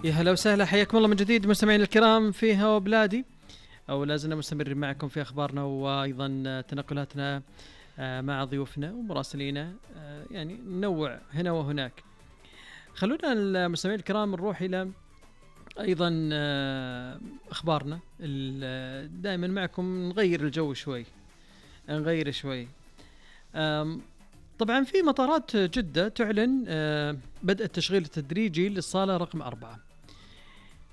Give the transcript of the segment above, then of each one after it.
يا هلا وسهلا، حياكم الله من جديد مستمعين الكرام في هوا بلادي، أو لازلنا مستمرين معكم في أخبارنا وأيضا تنقلاتنا مع ضيوفنا ومراسلينا، يعني ننوع هنا وهناك. خلونا المستمعين الكرام نروح إلى أيضا أخبارنا دائما معكم، نغير الجو شوي، نغير شوي. طبعا في مطارات جدة تعلن بدء التشغيل التدريجي للصالة رقم 4.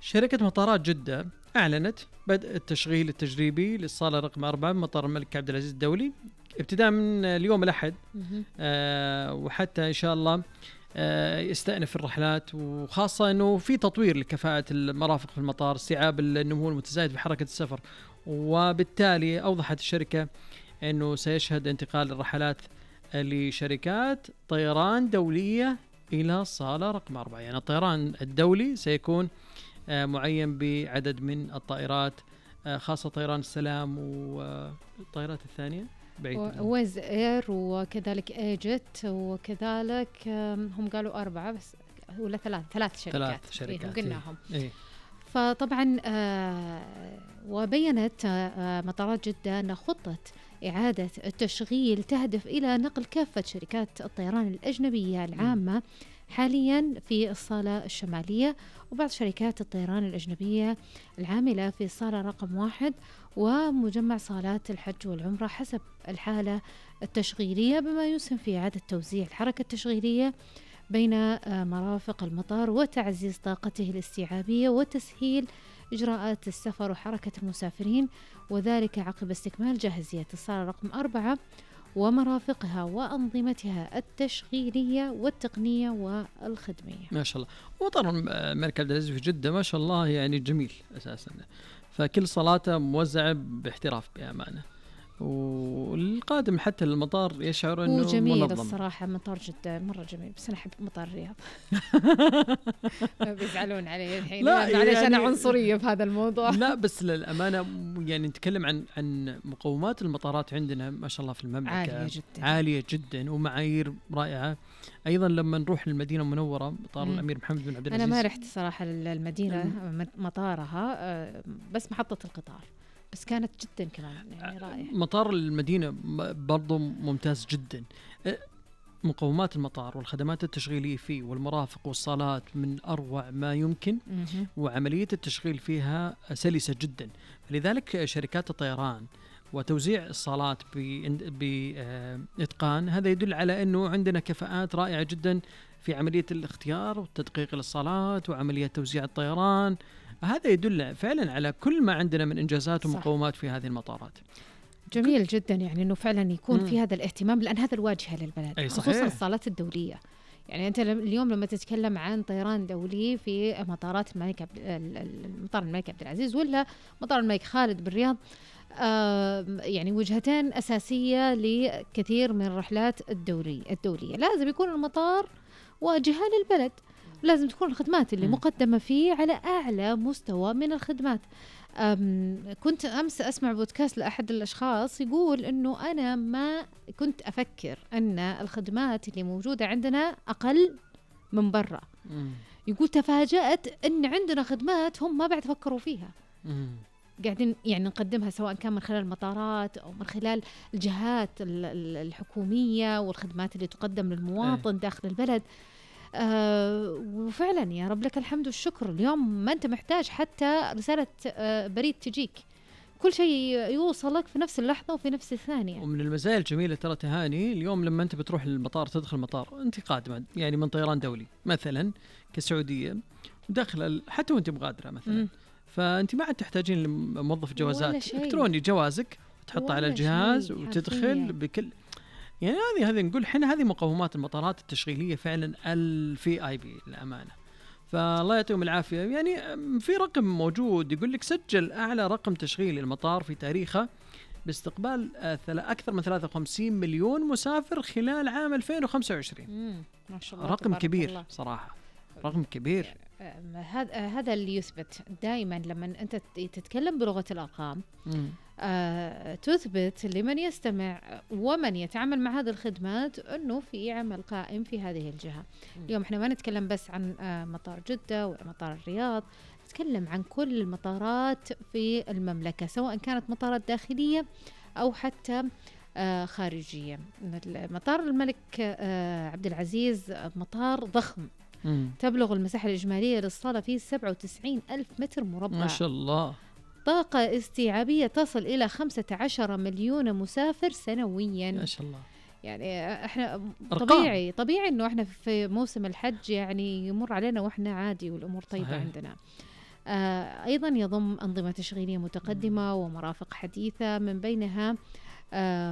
شركة مطارات جدة أعلنت بدء التشغيل التجريبي للصالة رقم 4 بمطار الملك عبد العزيز الدولي ابتداء من اليوم الأحد، وحتى إن شاء الله يستأنف الرحلات، وخاصة أنه في تطوير لكفاءة المرافق في المطار، استيعاب النمو المتزايد في حركة السفر، وبالتالي أوضحت الشركة أنه سيشهد انتقال الرحلات لشركات طيران دولية إلى الصالة رقم 4. يعني الطيران الدولي سيكون معين بعدد من الطائرات، خاصة طيران السلام والطائرات الثانية ويز اير وكذلك ايجت، وكذلك هم قالوا 4 بس ولا ثلاث شركات قلناهم. إيه. فطبعا وبينت مطارات جدة أن خطة إعادة التشغيل تهدف إلى نقل كافة شركات الطيران الأجنبية العامة حاليا في الصالة الشمالية، وبعض شركات الطيران الأجنبية العاملة في الصالة رقم 1 ومجمع صالات الحج والعمرة حسب الحالة التشغيلية، بما يسهم في إعادة توزيع الحركة التشغيلية بين مرافق المطار وتعزيز طاقته الاستيعابية وتسهيل إجراءات السفر وحركة المسافرين، وذلك عقب استكمال جاهزية الصالة رقم 4 ومرافقها وأنظمتها التشغيلية والتقنية والخدمية. ما شاء الله. ومطار الملك عبد العزيز في جدة ما شاء الله يعني جميل أساسا، فكل صلاته موزعة باحتراف بأمانة، والقادم حتى المطار يشعر انه جميل منظم. الصراحه مطار جدة مره جميل، بس انا احب مطار الرياض. بيزعلون علي الحين معلش يعني انا عنصريه في هذا الموضوع. لا بس للامانه يعني نتكلم عن مقومات المطارات عندنا ما شاء الله في المملكه عاليه جدا ومعايير رائعه. ايضا لما نروح للمدينه المنوره مطار الامير محمد بن عبد العزيز، انا ما رحت صراحه للمدينه مطارها، بس محطه القطار، بس كانت جدا كمان يعني رائعة. مطار المدينة برضو ممتاز جدا، مقومات المطار والخدمات التشغيلية فيه والمرافق والصالات من أروع ما يمكن، وعملية التشغيل فيها سلسة جدا. لذلك شركات الطيران وتوزيع الصالات بإتقان هذا يدل على أنه عندنا كفاءات رائعة جدا في عملية الاختيار والتدقيق للصالات وعملية توزيع الطيران. هذا يدل فعلا على كل ما عندنا من إنجازات ومقومات في هذه المطارات. جميل جدا يعني أنه فعلا يكون في هذا الاهتمام، لأن هذا الواجهة للبلد خصوصا الصالات الدولية. يعني أنت اليوم لما تتكلم عن طيران دولي في مطارات مطار الملك عبد العزيز ولا مطار الملك خالد بالرياض، يعني وجهتين أساسية لكثير من الرحلات الدولية. لازم يكون المطار واجهة للبلد، لازم تكون الخدمات اللي مقدمة فيه على أعلى مستوى من الخدمات. كنت أمس أسمع بودكاست لأحد الأشخاص يقول أنه أنا ما كنت أفكر أن الخدمات اللي موجودة عندنا أقل من برا. يقول تفاجأت أن عندنا خدمات هم ما بعد فكروا فيها، قاعدين يعني نقدمها سواء كان من خلال المطارات أو من خلال الجهات الحكومية والخدمات اللي تقدم للمواطن داخل البلد. وفعلا يا رب لك الحمد والشكر، اليوم ما أنت محتاج حتى رسالة بريد تجيك، كل شيء يوصلك في نفس اللحظة وفي نفس الثانية. ومن المزايا الجميلة ترى تهاني اليوم لما أنت بتروح للمطار، تدخل المطار أنت قادمة يعني من طيران دولي مثلا كسعودية وداخل حتى وأنت مغادرة مثلا، فأنت ما عاد تحتاجين لموظف جوازات، إلكتروني جوازك وتحطه على الجهاز وتدخل بكل يعني هذه نقول حنا هذه مقومات المطارات التشغيلية فعلا الVIP الأمانة. فالله يعطيهم العافية. يعني في رقم موجود يقول لك سجل أعلى رقم تشغيل المطار في تاريخه باستقبال أكثر من 53 مليون مسافر خلال عام 2025. ما شاء الله، رقم كبير الله. صراحة رقم كبير. هذا اللي يثبت دائما لما أنت تتكلم بلغة الأرقام. تثبت لمن يستمع ومن يتعامل مع هذه الخدمات أنه في عمل قائم في هذه الجهة. اليوم احنا ما نتكلم بس عن مطار جدة ولا مطار الرياض، نتكلم عن كل المطارات في المملكة، سواء كانت مطارات داخلية أو حتى خارجية. مطار الملك عبد العزيز مطار ضخم، تبلغ المساحة الإجمالية للصالة فيه 97 ألف متر مربع، ما شاء الله. طاقة استيعابية تصل إلى 15 مليون مسافر سنويا، ما شاء الله. يعني احنا أرقام. طبيعي انه احنا في موسم الحج يعني يمر علينا واحنا عادي والامور طيبة. صحيح. عندنا ايضا يضم انظمة تشغيلية متقدمة ومرافق حديثة، من بينها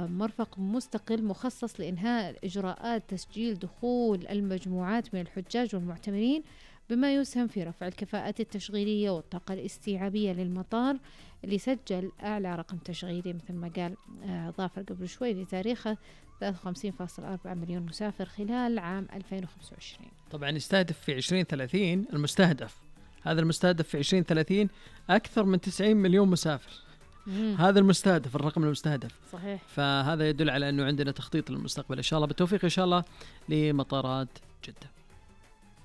مرفق مستقل مخصص لإنهاء إجراءات تسجيل دخول المجموعات من الحجاج والمعتمرين، بما يسهم في رفع الكفاءات التشغيلية والطاقة الاستيعابية للمطار، اللي سجل أعلى رقم تشغيلي مثل ما قال ظافر قبل شوي لتاريخه 53.4 مليون مسافر خلال عام 2025. طبعا يستهدف في 2030 هذا المستهدف في 2030 أكثر من 90 مليون مسافر. هذا المستهدف، الرقم المستهدف. صحيح. فهذا يدل على أنه عندنا تخطيط للمستقبل. إن شاء الله بالتوفيق إن شاء الله لمطارات جدة.